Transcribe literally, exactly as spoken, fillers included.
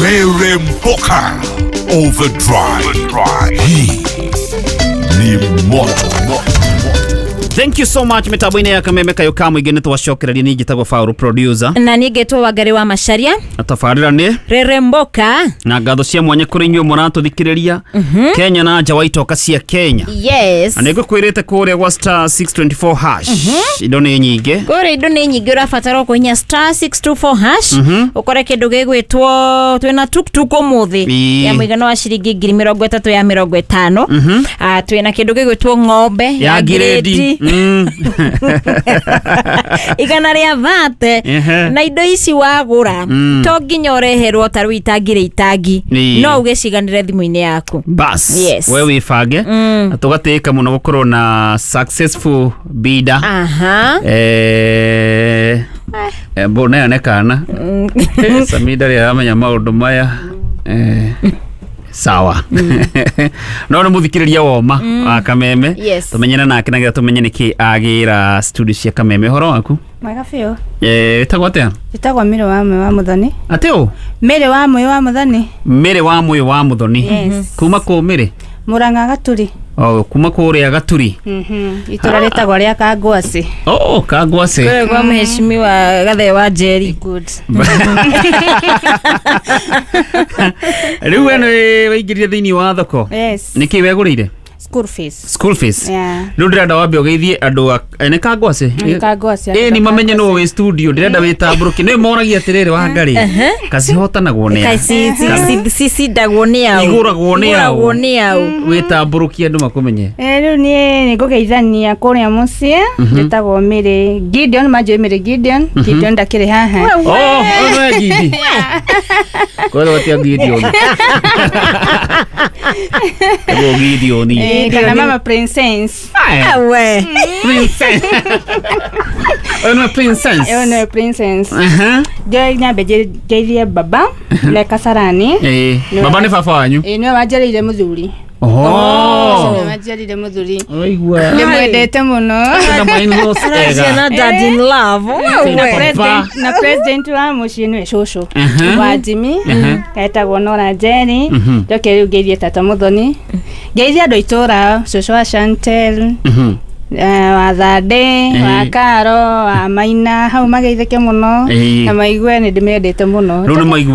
Rere Mpoka Overdrive. Hii ni moto. Thank you so much mitambo-inĩ ya Kameme kayo ka mũingĩ. Nĩ twacokereria. Niĩ njĩtagwo Faũrũ producer. Na niĩ ngetwo Wangari wa Macharia. Na tabarĩra nĩ Reremboka. Na ngatho cia mwanya kũrĩ inyuĩ mũratũthikĩrĩria Kenya na nja wa itoka cia Kenya. Yes. Na nĩ ngũkwĩrĩte kũrĩa gwa star six two four hash indo nĩ nyingĩ. Kũrĩa indo nĩ nyingĩ. Ũrabatara kũhinya star six two four hash ũkore kĩndũ gĩgwĩtwo twĩna tuktuk ũmũthĩ Ĩĩ. ya mũigana wa ciringi ngiri mĩrongo ĩtatũ ya mĩrongo ĩtano. Ah, twĩna kĩndũ gĩgwĩtwo ng'ombe ya ngirĩndi. Mm. igana rĩa thate. Ehe. Na indo ici wagũra to nginya ũreherwo ta rĩu itangi rĩ itangi, Ĩĩ. no ũgĩciganĩre thimũ-inĩ yaku. Bas. Yes. We wĩbange na tũgatĩĩka mũno gũkorwo na successful bidder. Aha. Eh, eh, mbona ĩyo nĩ kana Samida rĩ aramenya maũndũ maya. Eh, sawa, no nĩ mũthikĩrĩria woma wa Kameme. Yes. Tũmenyane nake nagetha tũmenye nĩkĩ agĩra studio cia Kameme. Ũhoro waku? Mwega biũ. Eh, ĩtagwo atĩa? Njĩtagwo Mĩrĩ wa Mwe wa Mũthoni. Atĩ ũ? Mĩrĩ wa Mwe wa Mũthoni. Mĩrĩ wa Mwĩ wa Mũthoni. Yes. Kuma kũ, Mĩrĩ? Mũrang'a Gaturi. Oh, kuma kũrĩa Gaturi. Mhm. Itũra rĩtagwo rĩa Kangwacĩ. Oh, Kangwacĩ. Kũrĩa kwa mheshimiwa Gathee wa Njeri. Good. Rĩu we nĩ waingĩrire thĩinĩ wa thoko? Yes. Nĩkĩ wegũrĩire? School fees. School fees. Yeah. Rĩu ndĩrenda wambe ũgeithie andũ a eh, nĩ Kangwacĩ. Nĩ Kangwacĩ. Ĩ ni mamenye nũ wĩ studio. Ndĩrenda wĩtambũrũke. Nĩ moragia atĩrĩrĩ, Wangari, kacihotanagwo nĩ a? Cicindagwo nĩ au? Igũragwo nĩ au? Igũragwo nĩ au? Wĩtambũrũkie andũ makũmenye. Eh, rĩu niĩ nĩ ngũgeithania kũrĩa mũciĩ. Njĩtagwo Mĩrĩ Gideon, manjũĩ Mĩrĩ Gideon. Gideon ndakĩrĩ haha. Oh, ũyũ nĩwe Gidi kwĩrwo atia Gideon. Ĩgwo Gideon. Eh, kana mama Princess. We. Princess. Ũyũ nĩwe Princess. Ĩyo nĩwe Princess. Aha. Njoe nyambe nje- ngeithie baba le Kasarani. Ĩĩ, baba nĩ baba wanyu? Ĩĩ, nĩwe wanjarĩire mũthuri. Oh. Nĩwe wanjarĩire mũthuri. Waigua. Ndĩmwendete mũno. Na my-in-laws Aracia ega. na dad in love. Na We. president, na president wa mũciĩ nĩwe cũcũ Mhm. wa Jimmy, etagwo Nora Njeri. Mhm. Njoke rĩu ngeithie tata Mũthoni, ngeithie andũ a itũũra, cũcũ wa Chantel, Mhm. eh, wa Thande, wa Eh. Karo, wa Maina hau, mageithĩke mũno Eh. na maigue nĩ ndĩmendete mũno. Rĩu nĩ maigua.